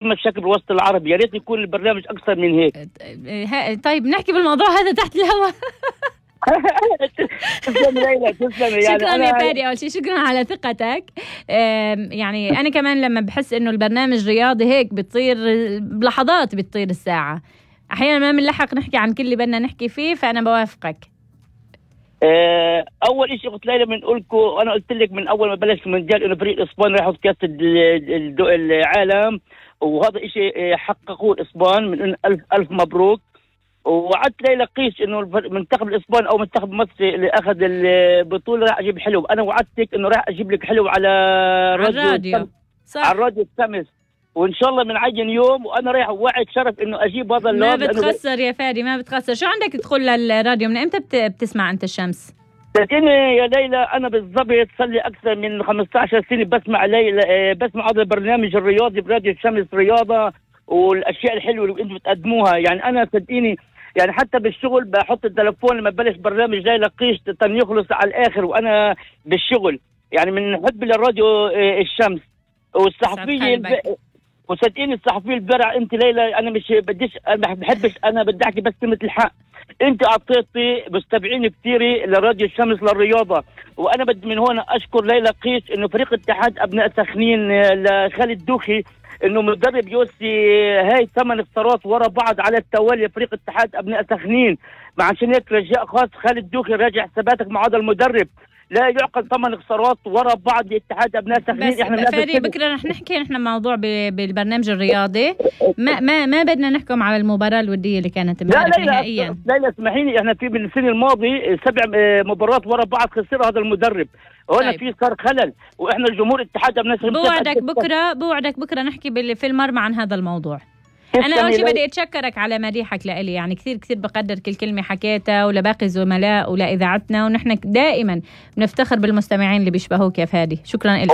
مشاكل بالوسط العربي، يا ريت يكون البرنامج اكثر من هيك. طيب نحكي بالموضوع هذا تحت الهواء. تسلم ليلى، تسلم. يعني شكرا يا فادي، اول شيء شكرا على ثقتك. يعني انا كمان لما بحس انه البرنامج رياضي هيك بتصير بلحظات بتطير الساعه، احيانا ما بنلحق نحكي عن كل اللي بدنا نحكي فيه، فانا بوافقك. اول شيء قلت ليلى بنقولكم، انا قلت لك من اول ما بلش المونديال انه فريق الاسبان راح ياخذ كاس العالم، وهذا شيء حققوه الاسبان، من الف مبروك. ووعدت ليلى قيش انه منتخب الاسبان او منتخب مصر اللي اخذ البطوله راح اجيب حلو. انا وعدتك انه راح اجيب لك حلو على الراديو، صح، على الراديو الخامس، وان شاء الله بنعين يوم، وانا رايح وعد شرف انه اجيب هذا ما بتخسر يا فادي، ما بتخسر. شو عندك تدخل للراديو؟ من امتى بتسمع انت الشمس؟ صدقيني يا ليلى انا بالضبط صار لي اكثر من 15 سنه بسمع بسمع هذا البرنامج الرياضي براديو الشمس، رياضه والاشياء الحلوه اللي انتم بتقدموها. يعني انا صدقيني يعني حتى بالشغل بحط التلفون لما بلش برنامج ليلى قيش يخلص على الاخر وانا بالشغل، يعني من حب للراديو الشمس. والصحفيه وصدقيني الصحفيه البرع انت ليلى، انا مش بديش، انا بحبش، انا بدي احكي بس كلمه الحق. انت اعطيتي مستمعين كثير لراديو الشمس للرياضه، وانا بدي من هون اشكر ليلى قيش انه فريق اتحاد ابناء سخنين لخالد دوخي انه مدرب يوصي هاي 8 خسارات ورا بعض على التوالي فريق اتحاد ابناء سخنين. عشان هيك رجاء خاص خالد دوخي راجع حساباتك مع هذا المدرب، لا يعقل 8 خسارات ورا بعض لاتحاد ابناء سخنين. احنا فادي بكره رح نحكي نحن موضوع بالبرنامج الرياضي، ما بدنا نحكم على المباراه الوديه اللي كانت امبارح نهائيا. لا اسمحيني، احنا في من السنه الماضي 7 مباريات ورا بعض خسرها هذا المدرب، هنا في صار خلل، واحنا الجمهور اتحاد ابناء سخنين. بوعدك بكره نحكي في المر عن هذا الموضوع. أنا أول شيء بدي أتشكرك على مديحك لإلي، يعني كثير بقدر كل كلمة حكيتها، ولباقي الزملاء ولإذاعتنا، ونحن دائما بنفتخر بالمستمعين اللي بيشبهوك يا فادي. شكرا لك.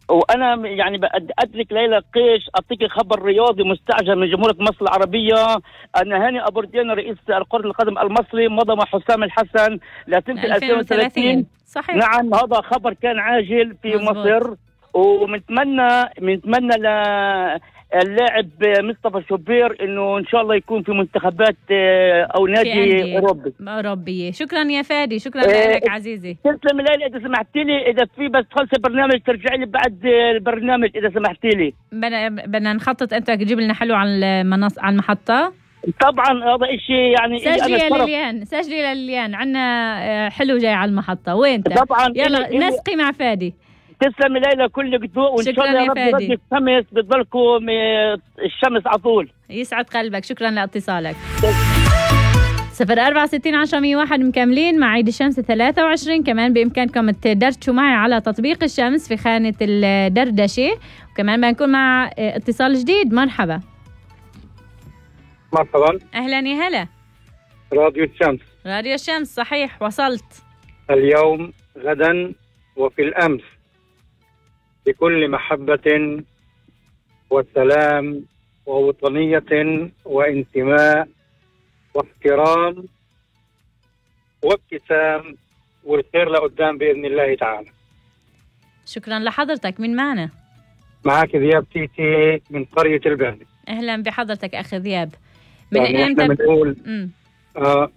وأنا يعني أدرك ليلى قيش أعطيك خبر رياضي مستعجل من جمهورية مصر العربية، أن هاني أبوردين رئيس كرة القدم المصري مضى مع حسام الحسن لسنة 2030. صحيح. نعم، هذا خبر كان عاجل في مزبوط. مصر، ومنتمنى اللاعب مصطفى شوبير انه ان شاء الله يكون في منتخبات او نادي اوروبيه. شكرا يا فادي، شكرا لك عزيزي. تسلم لي. اذا سمحتي لي، اذا في بس خلص البرنامج ترجعي لي بعد البرنامج اذا سمحتي لي. بدنا نخطط، انت تجيب لنا حلو على المحطه. طبعا هذا شيء يعني سجلي لليان عندنا حلو جاي على المحطه. وين طبعا يلا نسقي مع فادي. تسلم ليلى كل ذوق، وان شاء الله يا رب يرد الشمس بتضلكم الشمس على طول. يسعد قلبك. شكرا لاتصالك. 04601001 مكملين مع عيد الشمس 23. كمان بإمكانكم تدردشوا معي على تطبيق الشمس في خانة الدردشة، وكمان بنكون مع اتصال جديد. مرحبا. مرحبا. أهلا يا هلا. راديو الشمس. راديو الشمس صحيح، وصلت. اليوم غدا وفي الأمس بكل محبة وسلام ووطنية وانتماء واحترام وابتسام، والخير لقدام بإذن الله تعالى. شكرا لحضرتك. من معنا؟ معك ذياب تيتي من قرية البهنة. أهلا بحضرتك أخي ذياب. يعني احنا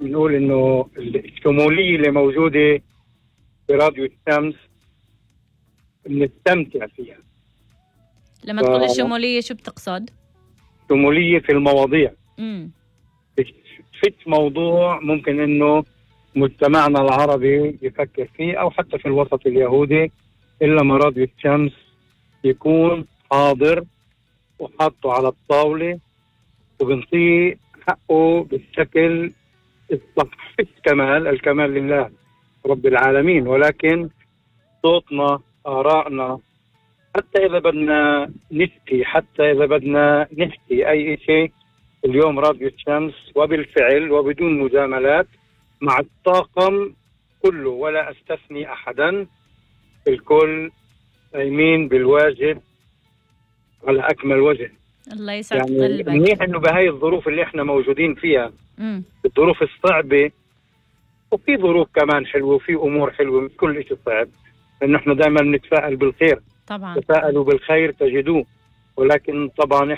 بنقول إنه الشمولية اللي موجودة في راديو الشمس بنستمتع فيها. لما تقول الشمولية شو بتقصد؟ شمولية في المواضيع. فيش موضوع ممكن انه مجتمعنا العربي يفكر فيه او حتى في الوسط اليهودي الا ما راديو الشمس يكون حاضر وحاطه على الطاولة وبنطيه حقه بالشكل الصح. فيش كمال، الكمال لله رب العالمين، ولكن صوتنا، آرائنا، حتى إذا بدنا نشكي، حتى إذا بدنا نحكي أي شيء، اليوم راديو الشمس وبالفعل وبدون مجاملات مع الطاقم كله ولا أستثني أحدا، الكل قايمين بالواجب على أكمل وجه. الله يسعد يعني قلبك. منيح إنه بهاي الظروف اللي إحنا موجودين فيها، الظروف الصعبة، وفي ظروف كمان حلوة وفي أمور حلوة، مش كل شيء صعب، لأنه إحنا دائما نتفائل بالخير. طبعا تفائلوا بالخير تجدوه. ولكن طبعا احنا